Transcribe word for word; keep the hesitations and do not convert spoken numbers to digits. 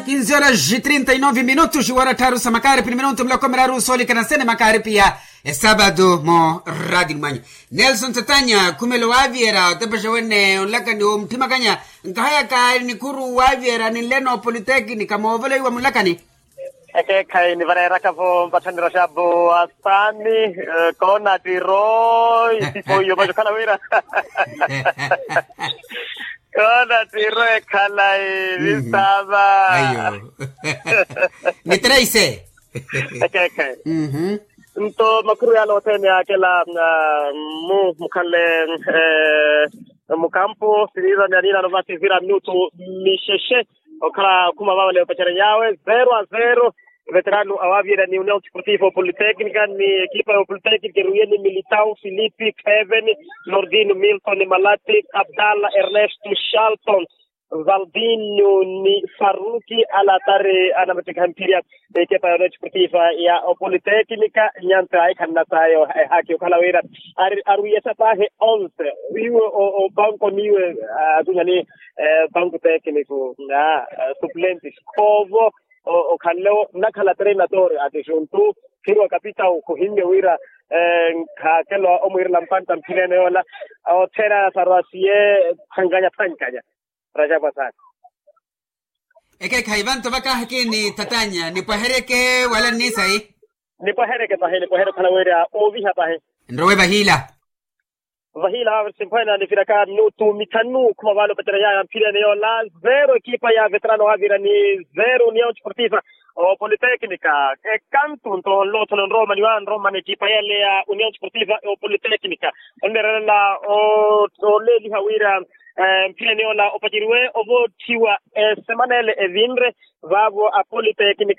Kinzi horas e trinta e nove minutos wara tharu sa makaripi ni minutu miloko miraru soolikana sene makaripi ya esabado mo radi ni mwanya. Nelson tatanya khumelo waaviyera otepexa wene onlakani omuthimakanya. Nkahayaka nikhuru waaviyera ninleno politeknika moovoleiwa munlakani. Ekeekhayi nivareeraka-vo mpatthaniroxapo asaani. Koona tiro isipo iyo macho khala wira. Koona tiro ekhalayi visaava. Ayo. Ni treise. Ekeekhayi. Nto makhuru yala othene akela mu mukhanle mukampu sirira ni anina novasi vira minutu mixexe. Okhala okhuma vavale opacerya yawe zero a zero. Veterano awaaviyerya ni union sportivo politécnica ni ekipa ya politécnica eruye ni militao filipe kevin, nordino milton malati, abdalla ernesto, charlton, valdinio ni faruki alatari anamuttikha mphirya. Ekepa ya union sportivo ya opolitécnica nyanta ahikhana sayo ehaki okhala wira arwiyesa pahi onze. Iwe opanko niwe atunyani panku técnico na suplente sikhovo. Okhanle nnakhala treinador ati xuntu khirwa kapitau khuhinle wira nkhaakelo omwiirela mpantta mphilene yoola. Othene aya sarwasiye phankanya phankanya. Rajapwa saana. Ekeekhayi vanto vakahaki ni tatanya nipwaheryeke wala nnisayi. Nipwaheryeke pahi nipwaheryeke okhala wira ooviha pahi. Nrowe vahila. Vahila vavo simphwene aniviraka minutu mithanu khuma vale opacerya yaya mphirene yoola. Zero ekipa ya veterano waavira ni zero union sportiva opolitécnica. Ekantu nto nlotho nonromani wa nromani ekipa yale ya union sportiva opolitécnica. Onneererela oleeliha wira mphirene yoola opaceriwe ovoottiwa esemana ele evinre. Vaavo apolitécnica